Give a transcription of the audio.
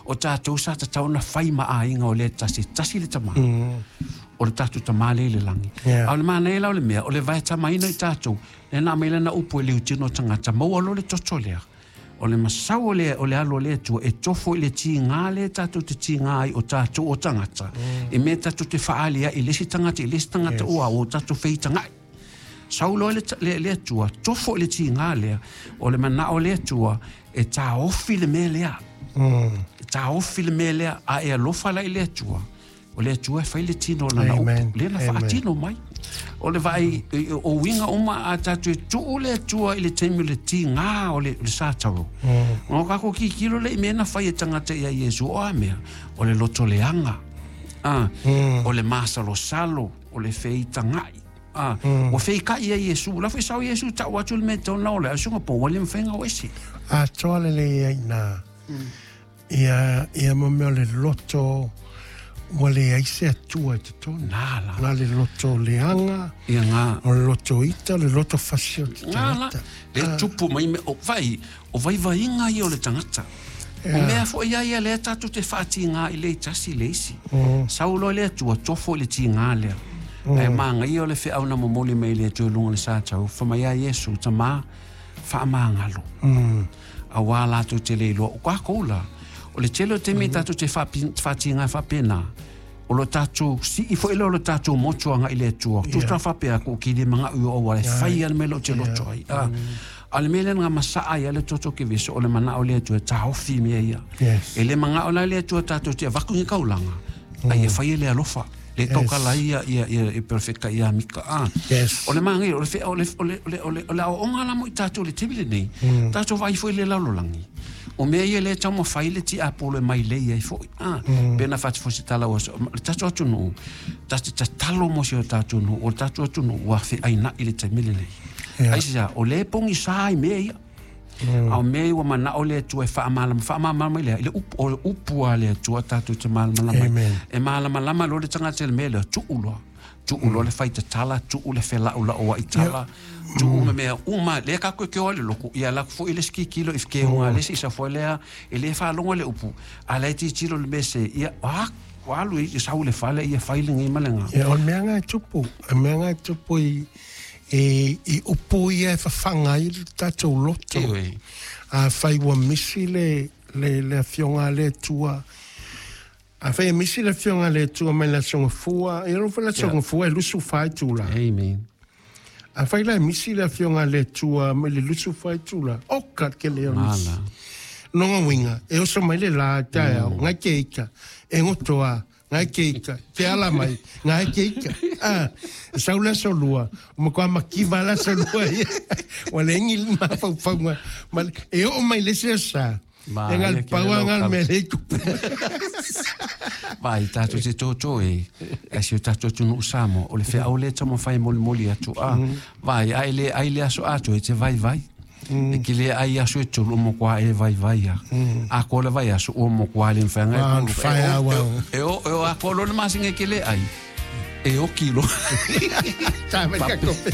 O tatou sa tatau ona fai ma aiga o le tasi, tasi le tama. O le tatou Tama lea i le lagi. Yeah. A o le manaia la o le mea, o le vaetamaina i tatou, lea na aumai lana upu e liutino tagata, maua loa le toto lea. O le masau o le, o le alo o le Atua e tofo i le tiga lea tatou te tiga ai o tatou o tagata, i mea tatou te faaali ai i le isi tagata, i le isi tagata, yes. Ua tatou feitaga'i. Sau loa le, le, le Atua, tofo i le tiga lea, o le manao o le Atua e taofi le mea lea. E taofi le mea lea, a e alofa la i le Atua, o le Atua e fai le tino o lana upu, lea na faatino mai. O le vaai, o uiga uma a tatou e tuu le Atua i le taimi o le tiga o le, o le Sataro. O kākou kikilo le i mea na fai e tagata ia Iesu, o a mea? O le loto leaga, o le masalosalo, o le feitaga'i. Ua feika'i ia Iesu. La foi sau Iesu tau atu le mea e tau na ole, a suga po wale mawhenga o ese. Atoa lelei ai nā. Ia, ia mo mea o le loto ua leai se Atua i totonu. Nā la. Na le loto leaga, Ia ngā. o le loto ita, o le loto fasi o te Ngā la. tagata. Le tupu mai me, o vai, o vaivaiga ia o le tagata. O mea foi ia ia lea tatou te faatigā i le tasi le isi. Sau loa le Atua, tofo i le tigā lea. Ae māgaia o le feau na momoli mai le Atua i luga o le satau, fai mai a Iesu, Tamā, faamagalo. Auā latou te le iloa. O kākou la, o le tele o taimi tatou te faatigā faapena, o lo tatou sii foi lea o lo tatou motu agai i le Atua. Tusa faapea ku ki le manga u o wale fai a le mea lea ou te loto ai. A le mea lea na masaa ai a le toto ke veso o le manao le Atua e taofi mea ia. Yes. E le mangao la le Atua tatou te avaku ni kaulanga. Ai e fai e le alofa. Le taukala ia ia ia e perfecta ia mika. Yes. O le maangai, o le whea, o le, o le, o le, o le, o le aoaoga la mo i tatou le taimi lenei. Tatou vaai foi i le lalolagi. O mea ia lea e taumafai le tiapolo e mai lei ai foi. Pe na whati fosi tala o le tatou atunuu, ta te tatalo mo si o tatou nuu, o le tatou atunuu ua feaina'i le taimi lenei. Yeah. Ai se o le pogisa i mea ia. A o mea ia ua manao le Atua e faamalamalama, faamalamalama mai lea, i le upu, o le upu a le Atua tatou te malamalama ai. Amen. E malamalama loa le tagata i le mea lea, tuu loa. Tuu loa le faitatala, tuu le felaulau ai tala, tuu ma mea uma, lea kākou e keo ai le loku, ia alu atu foi le isi kikilo i keoga a le isi isa foi lea, e le faalogo i le upu, a la e tilotilo i le mea se, ia, a, ua alu i sau i le fale, ia fai lenei ma lena. Ia, o le mea lena e tupu, o le mea lena e tupu i, i, i upu ia e fafaga ai le tatou loto. Ioe. Afai ua misi le, le, le Afioga a le Atua, afai e misi le Afioga a le Atua mai le Aso Gafua, ia loa foi le Aso Gafua e 24 itula. Amen. Afai la e misi le Afioga a le Atua mai le 24 itula, oka ke lea o misi. Mala. Nonga uiga, e oso mai le la taeao, ngai ke ika, e gotoa, ngai ke ika, te ala mai, ngai ke ika. Ah, e sau le aso lua, o matua makiva le aso lua ia. Ua leai ni mafaufauga, ma le- e oo mai le isi aso sa, Ma, e ia ngal ke pau le a ngal lau mea le tupu. Vai, tatou te tōtō e, e si o tatou atunuu Samoa, o le feau lea e taumafai e molimoli atu. A, vai, ai le, ai le aso atoa e te vaivai. E ke le ai aso e tolu o matua e vaivai a. A koa le vai aso o matua le mawhai ngai Ah, kulu. whai E o, au au. e o, e o a koa lo le masinga e ke le ai. E o kilo. Tā mai ka kope.